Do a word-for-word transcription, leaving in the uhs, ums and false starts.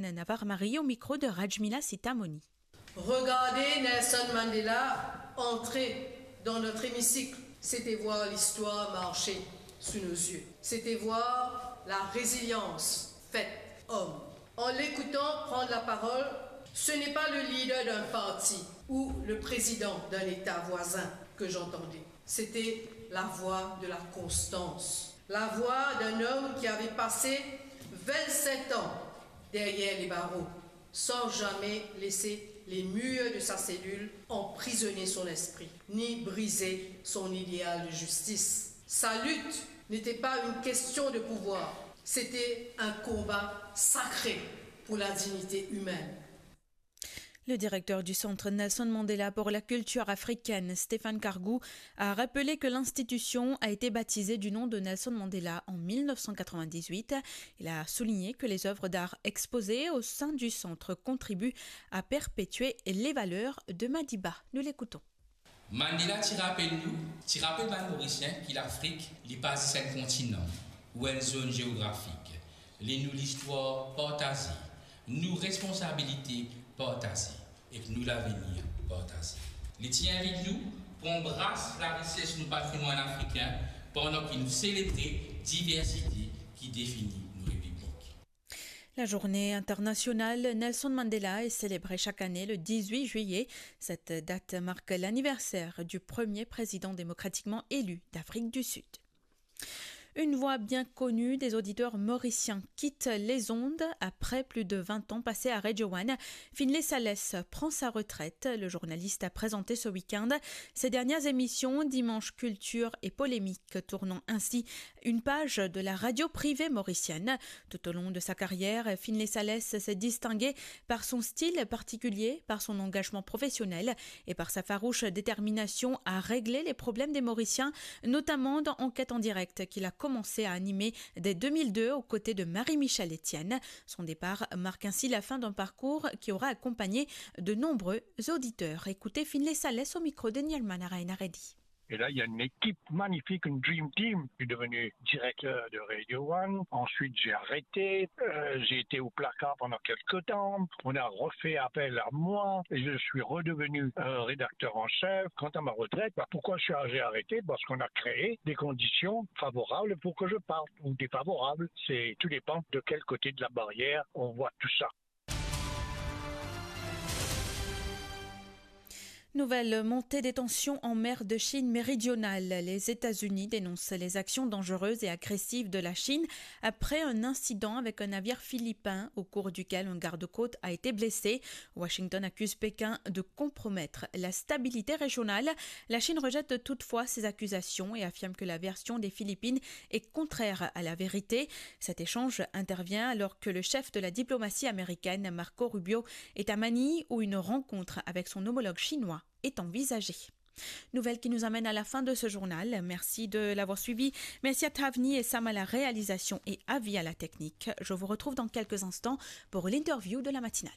Navar Marie au micro de Rajmila Sitamoni. Regarder Nelson Mandela entrer dans notre hémicycle, c'était voir l'histoire marcher sous nos yeux. C'était voir la résilience faite homme. En l'écoutant prendre la parole, ce n'est pas le leader d'un parti ou le président d'un État voisin que j'entendais. C'était la voix de la constance, la voix d'un homme qui avait passé vingt-sept ans derrière les barreaux, sans jamais laisser les murs de sa cellule emprisonner son esprit, ni briser son idéal de justice. Sa lutte n'était pas une question de pouvoir, c'était un combat sacré pour la dignité humaine. Le directeur du Centre Nelson Mandela pour la culture africaine, Stéphane Kargou, a rappelé que l'institution a été baptisée du nom de Nelson Mandela en mille neuf cent quatre-vingt-dix-huit. Il a souligné que les œuvres d'art exposées au sein du centre contribuent à perpétuer les valeurs de Madiba. Nous l'écoutons. Mandela ti rapel nou, ti rapel bann Morisien ki Lafrik, li pa zis enn kontinan ou enn zonn geografik. Li nou listwar partaze, nou responsabilite partaze ek nou lavenir partaze. Li ti invit nou pou anbras larises nou patrimwann afrikin pandan ki nou selebre diversite ki defini nou repiblik. La journée internationale Nelson Mandela est célébrée chaque année le dix-huit juillet. Cette date marque l'anniversaire du premier président démocratiquement élu d'Afrique du Sud. Une voix bien connue des auditeurs mauriciens quitte les ondes après plus de vingt ans passés à Radio One. Finlay Salès prend sa retraite. Le journaliste a présenté ce week-end ses dernières émissions, Dimanche Culture et Polémique, tournant ainsi une page de la radio privée mauricienne. Tout au long de sa carrière, Finlay Salès s'est distingué par son style particulier, par son engagement professionnel et par sa farouche détermination à régler les problèmes des Mauriciens, notamment dans Enquête en direct qu'il a commencé à animer dès deux mille deux aux côtés de Marie-Michèle Etienne. Son départ marque ainsi la fin d'un parcours qui aura accompagné de nombreux auditeurs. Écoutez Finlay Salès au micro de Nielman Arain Aredi. Et là, il y a une équipe magnifique, une dream team. Je suis devenu directeur de Radio One. Ensuite, j'ai arrêté. Euh, j'ai été au placard pendant quelque temps. On a refait appel à moi. Et je suis redevenu, euh, rédacteur en chef. Quant à ma retraite, bah, pourquoi j'ai arrêté ? Parce qu'on a créé des conditions favorables pour que je parte ou défavorables. C'est, tout dépend de quel côté de la barrière on voit tout ça. Nouvelle montée des tensions en mer de Chine méridionale. Les États-Unis dénoncent les actions dangereuses et agressives de la Chine après un incident avec un navire philippin au cours duquel un garde-côte a été blessé. Washington accuse Pékin de compromettre la stabilité régionale. La Chine rejette toutefois ces accusations et affirme que la version des Philippines est contraire à la vérité. Cet échange intervient alors que le chef de la diplomatie américaine, Marco Rubio, est à Manille où une rencontre avec son homologue chinois est envisagée. Nouvelle qui nous amène à la fin de ce journal. Merci de l'avoir suivi. Merci à Thavni et Sam à la réalisation et Avi à la technique. Je vous retrouve dans quelques instants pour l'interview de la matinale.